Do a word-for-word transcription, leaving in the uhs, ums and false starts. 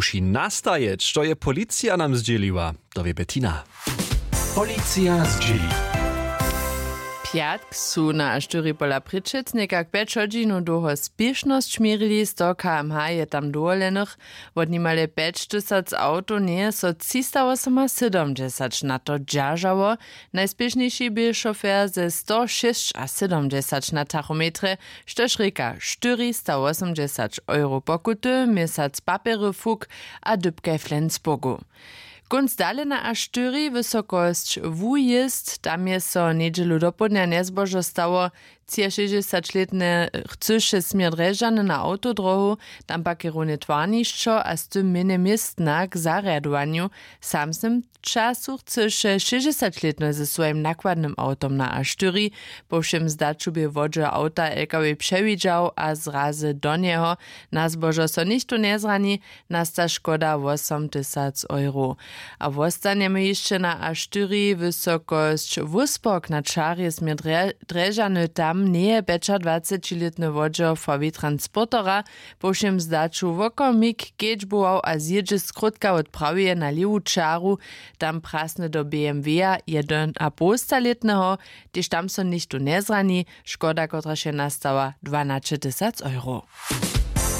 přinastajeć, što je policija nam zdźěliła, to wě Bettina. Policija zdźěli. Pjatk su na aštyri pola přećecnjeka k pjeć hodźinow dołho spěšnosć měrili. Sto kmh je tam dowolenych. Wot nimale pjećtysac awtow njeje so třistawosomasydomdźesać na to dźeržało. Najspěšnjejši bě šofer ze sto šěsćasydomdźesać na tachometrje, štož rěka štyristawosomdźesać euro pokuty, měsac papjery fuk a dypkaj flensburgu. Kónc dalena a štyri, wysokosć wujězd, tam je so njedźelu dopołdnja njezbožo stało. Třiašěsćdźesaćlětny chcyše směr drježdźany na awtodrohu, tam pak je runje twarnišćo a z tym mjenje městna k zarjadowanju. W samsnym času chcyše šěsćdźesaćlětny ze swojim nakładnym awtom na a štyri. Po wšěm zdaću bě wodźe awta lkw přewidźał a zrazy do njeho. Na zbožo so nichtó njezrani. Nasta škoda wosomtysac euro. A wostanjemy hišće na a štyri, wysokosć wóspok na čarje směr drježany, tam njeje pjećadwacećilětny wodźer fawi transportera po wšěm zdaću wokomik kedźbował a zjědźe skrótka wot praweje na lěwu čaru. Tam prasny do bmw-a jedynapołstalětneho. Tež tam so nichtó njezrani. Škoda, kotraž je nastała, dwanaćetysac euro.